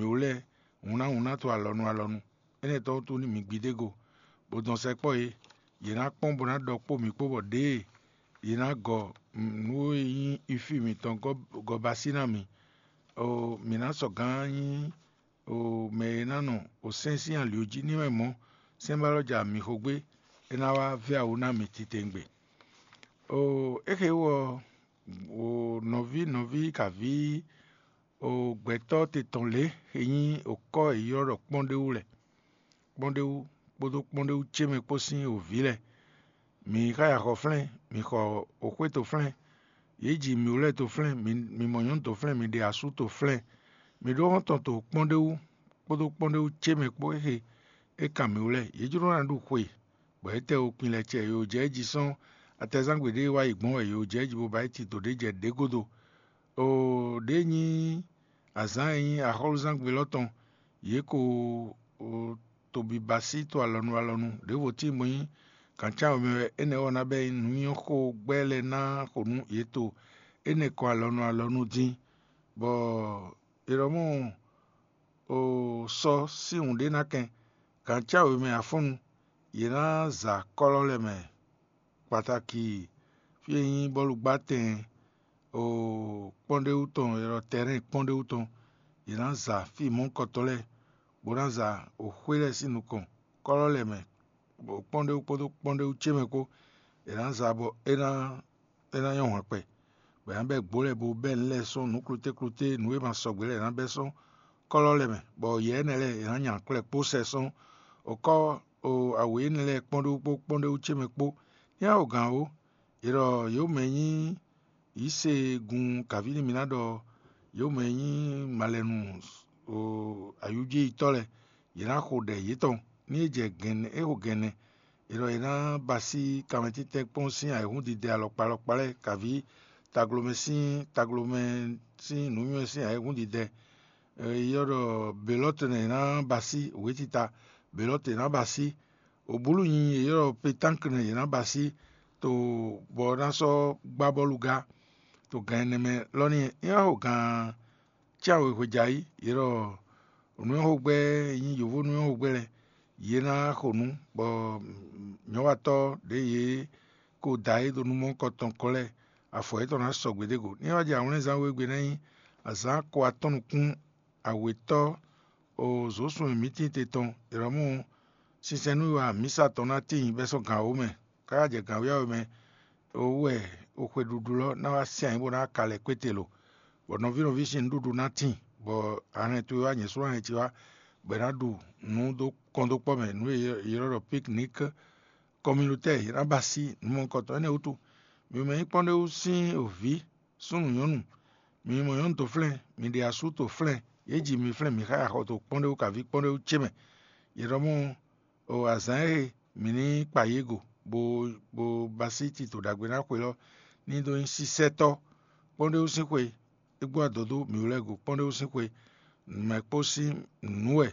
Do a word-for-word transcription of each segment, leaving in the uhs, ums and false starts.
mǐ wú lɛ́ɛ hǔnnáhúnná to alɔnu alɔnu. Énɛ́ tɔn wútu ní mi gbidé go, bó dɔn sɛkpɔ́ yě; yě ná kpɔ́n bó ná ɖɔ kpó mǐ kpó bɔ ɖěe yě ná gɔ nǔ e nyí ifí mǐtɔn gɔ́ basí ná mǐ. Mǐ ná sɔgǎn nyí mɛ e ná nɔ sɛ́n sín ali jí ní mɛ mɔ̌, sɛ́nbálɔ́ ja mǐ xo gbé, é ná wá vɛ́ awu ná mǐ titewungbe. É xe wú ɔ́, nɔví nɔví kaví gbɛtɔ́ te tɔn lě e nyí okɔ́ e ylɔ́ ɖɔ kpɔ́n ɖé wú lɛ́ɛ, kpɔ́n ɖé wú kpódó kpɔ́n ɖé wú ce mɛ kpó sín wǒví lɛ́ɛ. Mǐ xa ya xɔ flɛ́n, mǐ xɔ oxwé toflɛ́n, yě ji mǐ wú lɛ́ɛ toflɛ́n, mǐ mɔ nyɔ̌nu toflɛ́n, mǐ ɖe asú toflɛ́n, mǐ ɖó xɔ́ntɔn to kpɔ́n ɖé wú kpódó kpɔ́n ɖé wú ce mɛ kpó é xe é kan mǐ wú lɛ́ɛ. Yě jló ná ɖu xwe, bɔ é tɛ wo kpin lɛ cɛ, yǒ jɛ jí sɔ́n atɛzán gbe ɖé wá yi gbɔn wɛ yǒ jɛ jí bó ba yi tito ɖé jɛ ɖě gúdo. Oo, ɖě nyí azǎn e nyí axɔ́lúzángbe élɔ́ tɔn, yě ko tobibasí to alɔnu alɔnu, ɖěvo tíin bó nyí gǎncáwemɛ wɛ. Énɛ́ ɔ́ ná bɛ́ nyí nǔnywɛ́xó gbɛ́ lɛ́ɛ ná xo nú yě to énɛ́ kɔn alɔnu alɔnu dín, bɔ è ɖɔ mɔ sɔ sín wǔ ɖé ná kɛn gǎncáwemɛ afɔ́nnu, yě ná za kɔ́lɔ́ lɛ́ɛ mɛ. Kpataki fí e nyí bɔ́lugbátɛn kpɔ́nɖéwú tɔn, è ɖɔ tɛrɛ́n kpɔ́nɖéwú tɔn, yě ná za fí mɔ̌hunkɔtɔn lɛ́ɛ, bó ná za xwé lɛ́ɛ sín nukɔn kɔ́lɔ́ lɛ́ɛ mɛ, bɔ kpɔ́nɖéwú kpódó kpɔ́nɖéwú ce mɛ kpó, è nǎ za bɔ é ná é ná nyɔ́ hwɛ̌n kpɛ, bɔ è nǎ bɛ́ gbǒ lɛ́ɛ bo bɛ́ nǔ lɛ́ɛ sɔ́ nǔ klútéklúté, nǔ e ma sɔgbe lɛ́ɛ è nǎ bɛ́ sɔ́ kɔ́lɔ́ lɛ́ɛ mɛ, bɔ yɛ énɛ́ lɛ́ɛ è nǎ nya klɛ́ kpó sɛ sɔ́. Okɔ́ o awě énɛ́ lɛ́ɛ kpɔ́n ɖó kpó kpɔ́n ɖó wú ce mɛ kpó. Ní a xo gǎn ó, è ɖɔ yě mɛ nyí yǐsegun kǎví nú mi ná ɖɔ yě mɛ nyí malɛnu o ayújéyitɔ́ lɛ́ɛ, yě ná xo ɖɛ yětɔn. Ní é jɛ gɛ̌nɛ é xo gɛ̌nɛ, è ɖɔ è nǎ ba sí kanmɛtítɛ́ kpɔ́n sín ayǐhúndidɛ alɔkpa alɔkpa lɛ́ɛ, kǎví taglomɛ sín taglomɛ sín nǔnywɛ́ sín ayǐhúndidɛ. È ylɔ́ ɖɔ belɔ́tɔn è nǎ ba sí, wětita belɔ́tɔn è nǎ ba sí. Obúlu nyi è ylɔ́ ɖɔ petánkle è nǎ ba sí, to bɔ ná sɔ́ gbá bɔ́lu gá to gan ɛnɛ mɛ lɔ ní é wá xo gan cyáwě hwejǎyi. Yě ɖɔ nǔnywɛ́xogbɛ́ e nyí yǒvó nǔnywɛ́xogbɛ́ lɛ́ɛ, yě ná xo nǔ, bɔ nyɔ̌watɔ́ ɖě yě ko da é ɖo nú mɔ̌hunkɔtɔn kɔ lɛ́ɛ, afɔ yětɔn ná sɔgbe ɖé go. Ní é wá jɛ awlɛ́nzán wegbe ná nyí azǎn ko atɔ́ nukún awětɔ́ o zǒsun e mǐ tíin te tɔn, è nɔ mɔ sinsɛn nú wa mǐsa tɔn ná tíin bɛ́ sɔ́ gǎn wǒ mɛ, káká jɛ gǎn wíyáwó mɛ, o wú wɛ o xwe ɖuɖu lɔ ná wá sɛn ayǐ bó ná ka lɛ kpéte lo, bɔ nɔví nɔví sín nǔɖuɖu ná tíin, bɔ a hɛn towe wá nyɛ sú ná hɛn ce wá, bɔ è nǎ ɖu nǔ dó kɔn dó kpɔ́ mɛ, nǔ e è ylɔ́ ɖɔ piknik kɔmilotɛ́ è nǎ ba sí nǔ mɔ̌hunkɔtɔn. Énɛ́ wútu, mi mɛ nyí kpɔ́n ɖé wú sín vǐ súnnu nyɔ̌nu, mi mɔ nyɔ̌nu to flɛ́n, mi ɖe asú to flɛ́n, yě ji mi flɛ́n mi xá axɔ to kpɔ́n ɖé wú kaví kpɔ́n ɖé wú ce mɛ. Yě ɖɔ mɔ o azǎn e mǐ ní kpa yě go, bó bó ba sí tito ɖagbe ná xwe lɔ ní dó nyí sísɛ́tɔ́. Kpɔ́n ɖé wú sín xwe, é gbɔ adɔ̌ dó mǐ wú lɛ́ɛ go kpɔ́n ɖé wú sín xwe, mɛ kpó sín nǔ wɛ.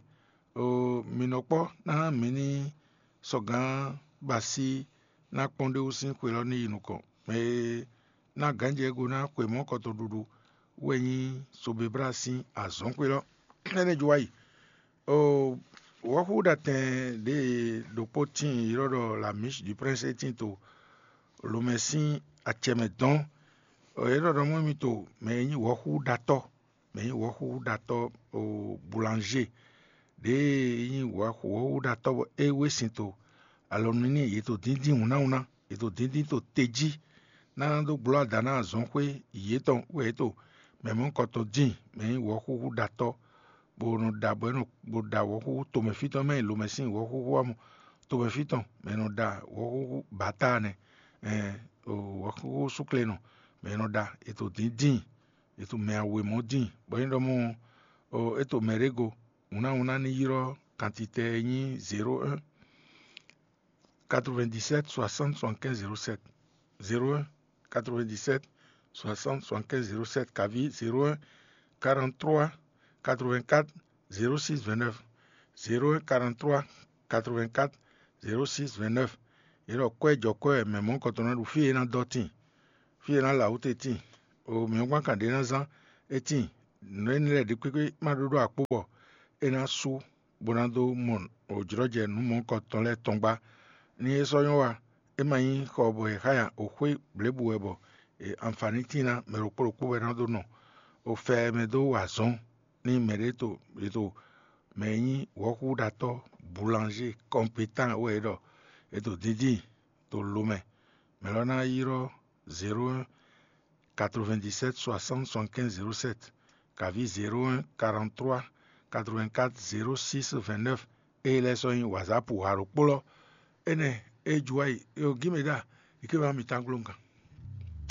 O mi nɔ kpɔ́ ná mǐ ní sɔgǎn ba sí ná kpɔ́n ɖé wú sín xwe lɔ ní yi nukɔn. Mɛ e ná gǎnjɛ go ná xwe mɔ̌ kɔtɔn ɖuɖu wɛ nyí Sobebla sín azɔ̌n xwe lɔ. Énɛ́ jɔ wá yi. O wɔ̌xúɖatɛn ɖě e ɖokpó tíin ylɔ́ ɖɔ la miche du prince é tíin to lomɛ sín acɛ mɛ dɔn. Yě ɖɔ ɖɔ mɔ mi to mɛ e nyí wɔ̌xúɖatɔ́, mɛ e nyí wɔ̌xúɖatɔ́ o boulanger, ɖě e nyí wɔ̌xúɖatɔ́ bɔ é wé sin to alɔ nú n'i, yě to díndín wǔnnáwúnná, yě to díndín to te jí ná dó gbló ada ná azɔ̌xwé yětɔn wɛ yě to mɛ mɔ̌hunkɔtɔn dín, mɛ e nyí wɔ̌xúxúɖatɔ́, bó nɔ ɖa bɔ é nɔ bó ɖa wɔ̌xúxú tomɛfítɔ́ mɛ e lomɛ sín wɔ̌xúxú ɔ́ mɔ, tomɛfí tɔn mɛ e nɔ ɖa wɔ̌xúxú bǎta nɛ, wɔ̌xúxú súklenɔ mɛ e nɔ ɖa è to dín dín, è to mɛ awěmɔ dín, bɔ é ɖɔ mɔ é to mɛ ɖé go, hǔnnáhúnná ní ylɔ́ kantitɛ e nyí zéro un quatre-vingt-dix-sept soixante soixante-quinze zéro sept, zéro un quatre-vingt-dix-sept soixante soixante-quinze zéro sept, kaví zéro un quarante-trois quatre-vingt-quatre zéro six vingt-neuf, zéro un quarante-trois quatre-vingt-quatre zéro six vingt-neuf. Yě ɖɔ kwɛ́ jɔ kwɛ́ wɛ mɛ mɔ̌hunkɔtɔn ná ɖu fí e é ná dɔ́ tíin, fí e é ná lɛ awǔ te tíin, o mǐ ɔ́ gbán kan ɖě ná zán é tíin. Nǔ énɛ́ lɛ́ɛ ɖě kpékpé má ɖó ɖó akpó bɔ é ná sú bó ná dó mɔ òjlɔ́jɛ nǔ mɔ̌kɔtɔn lɛ́ɛ tɔn gbá. Ní é sɔ́ nyɔ́ wa, é ma nyí xɔ bɔ è xá nya, òxwé blěbǔ wɛ bɔ anfanítín ná mɛ ɖokpó ɖokpó wɛ ná dó nɔ. Ò fɛ mɛ dó wa azɔ̌n ní mɛɖé to è to mɛ e nyí wɔ̌xúɖatɔ́, boulanger compétent wɛ é ɖɔ è to díndín to lo mɛ. Mɛ lɔ ná ylɔ́ zéro un quatre-vingt-dix-sept soixante soixante-quinze zéro sept, kaví zéro un quarante-trois quatre-vingt-quatre zéro six vingt-neuf. Ée lɛ́ɛ sɔ́ nyí wazǎpu ha ɖokpó lɔ. Énɛ́ é ju wá yi é o gímɛ ɖa yi ké wá mi tán glóngán.